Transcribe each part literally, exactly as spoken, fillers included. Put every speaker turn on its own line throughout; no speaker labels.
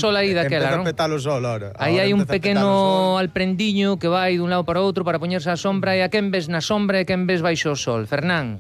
sol aí daquela,
empeza
non?
a petar o sol, ahora.
Aí
Ahora
hai un
empeza a petar o
pequeno
sol.
alprendiño que vai dun lado para outro para poñerse á sombra, e a quen ves na sombra e a quen ves baixo o sol, Fernán?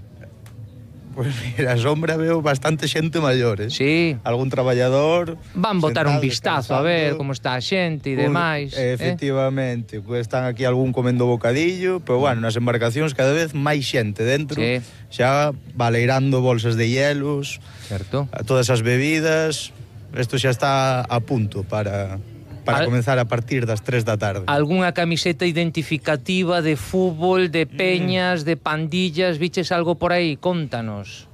Pois mira, a sombra veo bastante xente maior, eh?
Sí.
Algún traballador...
Van botar un
sentado,
vistazo a ver
descansando.
como está a xente e
Pois,
demais. eh?
Efectivamente, pues están aquí algún comendo bocadillo, pero bueno, nas embarcacións cada vez máis xente dentro,
Sí.
xa baleirando bolsas de hielos,
Certo.
a todas as bebidas. Isto xa está a punto para para
Al-
comenzar a partir das tres da tarde.
Algúnha camiseta identificativa de fútbol, de peñas, de pandillas, viches algo por aí? Contanos.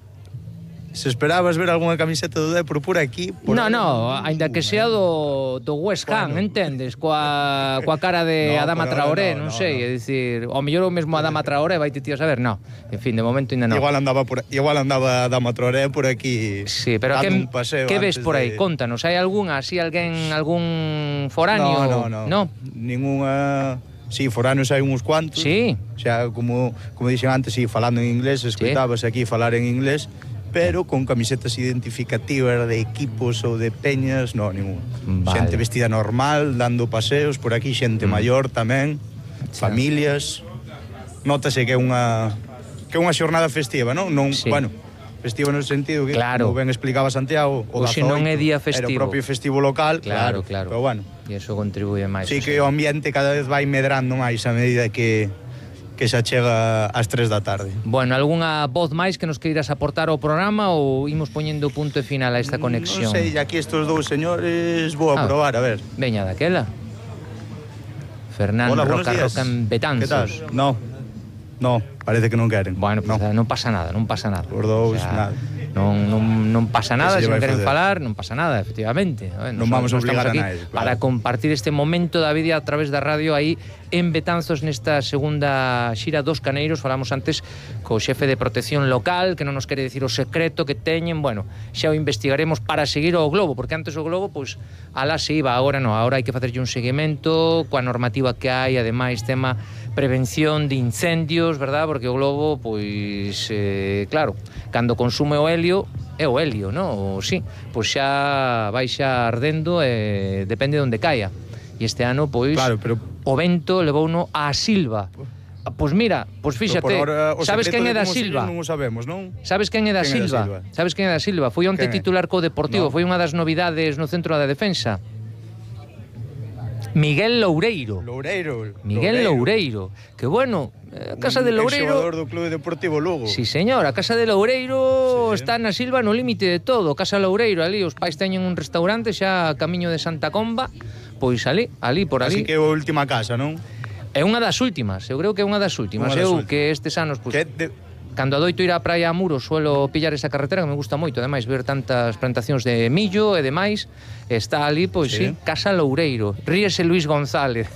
Se esperabas ver algunha camiseta do Depor por aquí... Por
No,
aí,
no, aínda que sea do, do West Ham,
Bueno.
entendes? Coa, coa cara de
No,
Adama
por ahora
Traoré,
no,
non
no,
sei,
no.
é dicir, ao mellor o mesmo Adama Traoré vai te tío a saber, no. En fin, de momento ainda non.
Igual andaba por igual andaba Dama Traoré por aquí.
Sí, pero
dando
que,
un paseo
que ves
antes
por aí?
de-
Contanos, hai algunha, así alguén, algún foráneo?
No, no, no.
No?
Ningunha... Sí, foráneos hai uns cuantos.
Sí.
Xa, como, como dixen antes, sí, falando en inglés, escoitábase aquí falar en inglés, pero con camisetas identificativas de equipos ou de peñas, no, ningún.
Vale.
Xente vestida normal, dando paseos, por aquí xente
Mm.
maior tamén,
Xa.
familias. Nótase que é unha que é unha xornada festiva, non? Non,
Sí.
bueno, festiva no sentido que,
Claro.
como ben explicaba Santiago, o
Hoxe non é
dezaoito
día
era
festivo.
o propio festivo local,
Claro, claro.
Pero bueno,
E iso contribuye máis.
sí
o
que
sea.
o ambiente cada vez vai medrando máis a medida que que xa chega ás tres da tarde.
Bueno, algunha voz máis que nos queiras aportar ao programa ou imos poñendo punto e final a esta conexión?
Non sei, aquí estes dous señores vou a
Ah.
probar, a ver.
Veña daquela. Fernán
Hola, buenos
Roca
días.
Roca en
Que tal?
Betanzos.
No, no, parece que non queren.
Bueno, pues
no.
non pasa nada, non pasa nada.
Os dous, nada.
Non, non, non pasa nada, se
Que se lle
non
vai
queren
facer?
falar, non pasa nada, efectivamente. A ver,
Non
nos-
vamos a
nos
obligar
estamos
a
aquí
nadie, claro.
para compartir este momento da vida a través da radio aí en Betanzos nesta segunda xira dos Caneiros. Falamos antes co xefe de protección local, que non nos quere decir o secreto que teñen. Bueno, xa o investigaremos para seguir o Globo, porque antes o Globo, pois, alá se iba, agora non, agora hai que facerlle un seguimento coa normativa que hai, ademais tema prevención de incendios, verdad? Porque o Globo, pois, eh, claro, cando consume o helio, é o helio, non? O, sí, pois xa vai xa ardendo e depende de onde caia. E este ano, pois,
Claro, pero
o vento levouno á Silva. Pois mira, pois fíxate,
por ahora, o
sabes
secreto
quen é
de
da
como se
Silva?
lle non o sabemos, non?
Sabes quen é da
Quen é da
Silva?
Silva?
Sabes quen é da Silva? Foi onte
Quen é?
titular co Deportivo,
No.
foi unha das novidades no centro da defensa. Miguel Loureiro.
Loureiro.
Miguel Loureiro. Que bueno, eh, a casa de Loureiro...
xogador do Clube Deportivo Lugo.
Sí, señor, a casa de Loureiro
Sí.
está na Silva no límite de todo. Casa Loureiro, ali, os pais teñen un restaurante xa a camiño de Santa Comba. Pois ali, ali, por ali.
Así que é a última casa, non?
É unha das últimas, eu creo que é unha das últimas.
Unha das
eu
últimas.
que estes anos, pois,
Que de...
cando adoito ir á praia a Muros, suelo pillar esa carretera que me gusta moito, ademais ver tantas plantacións de millo e demais, está ali, pois sí,
Sí.
Casa Loureiro. Ríese Luis González.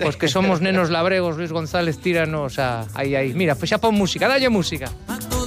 Os que somos nenos labregos, Luis González tíranos a... Aí, aí. Mira, pois xa pon música, dalle música.